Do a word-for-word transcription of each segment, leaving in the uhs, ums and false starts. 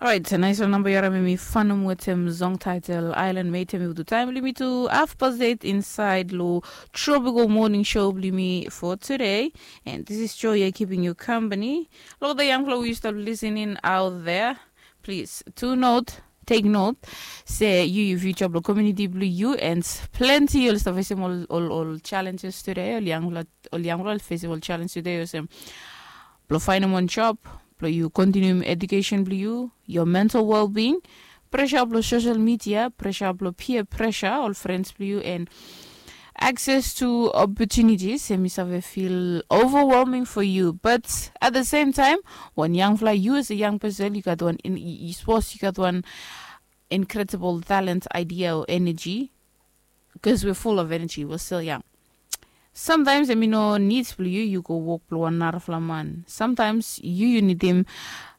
Orait, nais wan namba yu harim em i fanom wetem song title Island Mate. Em i witu taim blong yumi tu half past eight inside lo Tropical Morning Show blong yumi for today. And this is Joy, keeping you company. Lo the young people we used to listening out there, please, to note, take note, se yu yu future blong community blong yu, and plenty ol stap facing ol ol ol challenges today. Ol young people, ol young people facing ol challenges today, olsem blong finding one job, blong yu continuing education blong yu, your mental well-being, pressure blong social media, pressure blong peer pressure, ol friends blong yu, and access to opportunities. Em i save feel overwhelming for you, but at the same time, wan young fly, yu as a young person, yu gat wan, yu suppose yu gat wan incredible talent, idea, or energy, because we're full of energy, we're still young. Sometimes em i no need blong yu yu go wok blong wan narafala man. Sometimes yu yu nidim,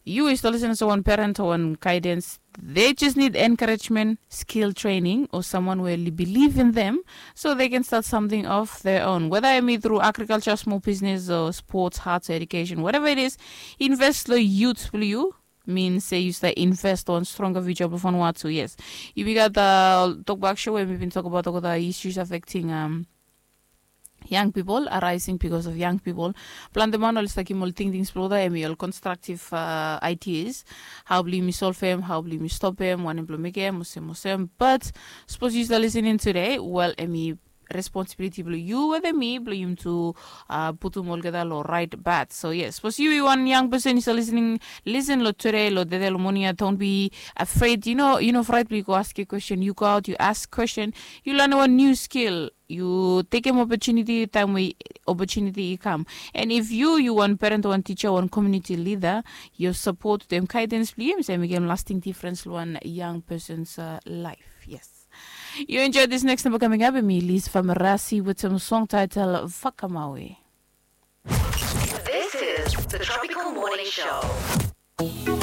yu is to listen as wan parent or wan guidance. They just need encouragement, skill training, or someone will believe in them so they can start something of their own. Whether em i through agriculture, small business, or sports, arts, education, whatever it is, invest lo youth blong yu. Mean se yu start invest on stronger future blong Vanuatu. Yes, yumi gat tokbak show we mi bin tokbaot olgeta issues affecting um, young people, arising because of young people. Plante man oli start givim ol tingtings blong olgeta, em i ol constructive uh, ideas. Hao blong yumi solvem, hao blong yumi stopem wanem blong mekem olsem olsem. But sapos yu start listening today, well, em i responsibility blong yu wetem mi blong yumi tu uh, putum olgeta lo right path. So yes, sapos yu i wan young person yu start listening, listen lo today, lo dede, lo moning ya, don't be afraid. You know, you know, fright blong yu go ask a question. You go out, you ask question, yu lanem wan new skill, yu tekem opportunity taim we opportunity i kam. And if yu yu wan parent, wan teacher, wan community leader, yu support dem guidance blong yu, em i mekem lasting difference lo wan young person's uh, life. Yes. You enjoy this next number coming up, em i Liz Famarasi with some song title Fakamawe. This is the Tropical Morning Show.